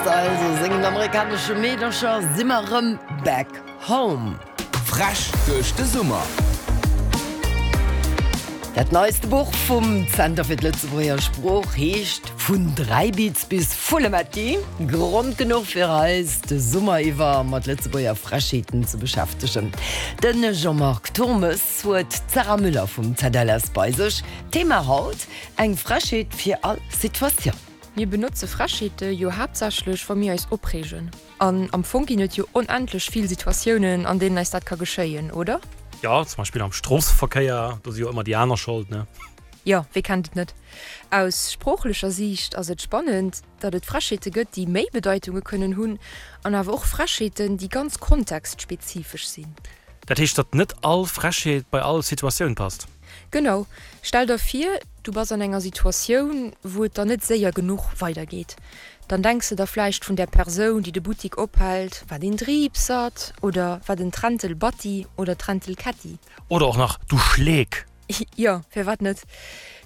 Also sengen amerikanesche Meedercher si mer rëm back home. Frech duerch de Summer. Dat neiste Buch vum Zenter fir d'Lëtzebuerger Sprooch heescht Vun Dräibiz bis Vullemetti. Grond genuch fir eis de Summer iwwer mat Lëtzebuerger Frechheeten ze beschäftegen. De Jean-Marc Turmes huet d'Sarah Müller vum ZLS bei sech. Thema haut, Eng Frechheet fir all Situatioun. Mir benotze Frechheete jo haaptsächlech, wa mir eis opreegen. An am Fong ginn et jo onendlech vill Situatiounen, an deenen eis dat ka geschéien, oder? Jo, zum Beispill am Stroosseverkéier, do si jo ëmmer déi aner Schold, ne? Jo, wee kennt et net? Aus sproochlecher Siicht ass et spannend, datt et Frechheete gëtt, déi méi Bedeitunge kënnen hunn, an awer och Frechheeten, déi ganz kontextspezifesch sinn. Dat heescht, datt net all Frechheet bei all Situatioun passt? Genau. Stell der vir, du bass an enger Situatioun, wou et der net séier genuch weidergeet. Dann denks de der vläicht vun där Persoun, déi de Buttik ophält, Wat een Driibsert! oder Wat en Träntelbatti oder Träntelkätti! Oder och nach, Du Schleek! Jo, firwat net?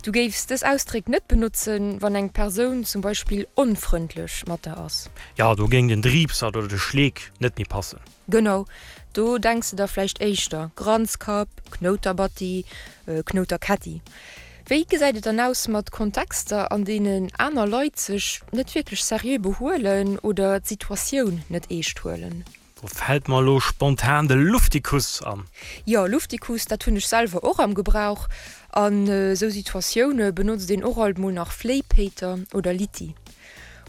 Du géifs dës Ausdréck net benotzen, wann eng Persoun zum Beispill onfrëndlech mat der ass. Jo, do géing den Driibsert oder de Schleek net méi passen. Genau, do denks de der vläicht éischter, Granzkapp, Knouterbatti, Knouterkätti. Wéi gesäit et dann aus mat Kontexter, an deenen aner Leit sech net wierklech seriö behuelen oder d'Situatioun net eescht huelen? Do fält mer elo spontan de Luftikus an. Jo, Luftikus, dat hunn ech selwer och am Gebrauch. An esou Situatioune benotzt een och alt mol nach Fléipéiter oder Litti.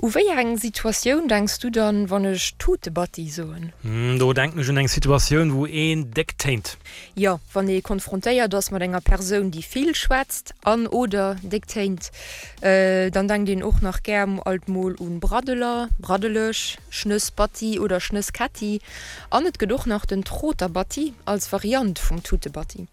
U wéi eng Situatioun denks du dann, wann ech Tutebatti soen? Do denken ech un eng Situatioun, wou een déck téint. Jo, wann ee konfrontéiert ass mat enger Persoun, déi vill schwätzt an, oder déck téint. Dann denkt een och nach gär alt mol un Braddeler, Braddeleg, Schnëssbatti oder Schnësskätti. An et gëtt och nach den Troterbatti als Variant vum Tutebatti.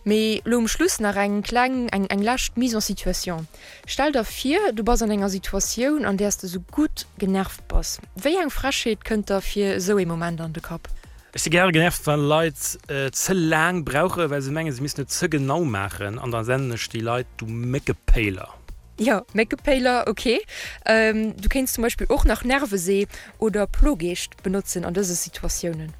Mee lo um Schluss nach eng kleng, eng eng lescht Mise en situation. Stell der vir, du bass an enger Situatioun, an där s de sou gutt genervt bass. Wéi eng Frechheet kënnt der fir esou ee Moment an de Kapp? Ech si gäre genervt, wa Leit ze laang brauche well se mengen, se missten et ze genau maachen, an da sennen ech déi Leit, du Méckepéiler. Jo, Méckepéiler, ok. Du kéints zum Beispill och nach Nervesee oder Plogeescht benotzen an dëse Situatiounen.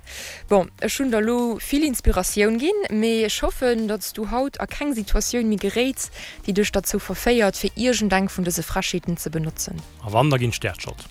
Bon, ech hunn der lo vill Inspiratioun ginn, mee ech hoffen, datt s du haut a keng Situatioun méi geréits, déi dech derzou verféiert, fir iergendeng vun dëse Frechheeten ze benotzen. A wann, da ginn ech der d'Schold.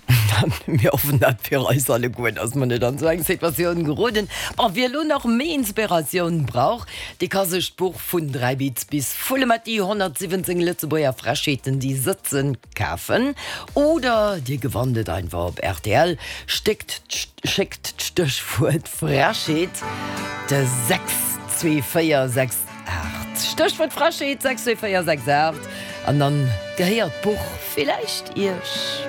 Mir hoffen dat fir eis alleguer, dass mer net an esou eng Situatioun geroden. Bon, wie elo nach méi Inspiratioun brauch, dee ka sech d'Buch Vun Dräibiz bis Vullemetti, 117 Lëtzebuerger Frechheeten, déi sëtzen kafen. Oder dir gewannt et einfach op rtl. Stéckt schéckt d'Stéchwuert Frechheet de 62468. Stéchwuert Frechheet 62468 an dann gehéiert d'Buch villäicht iech.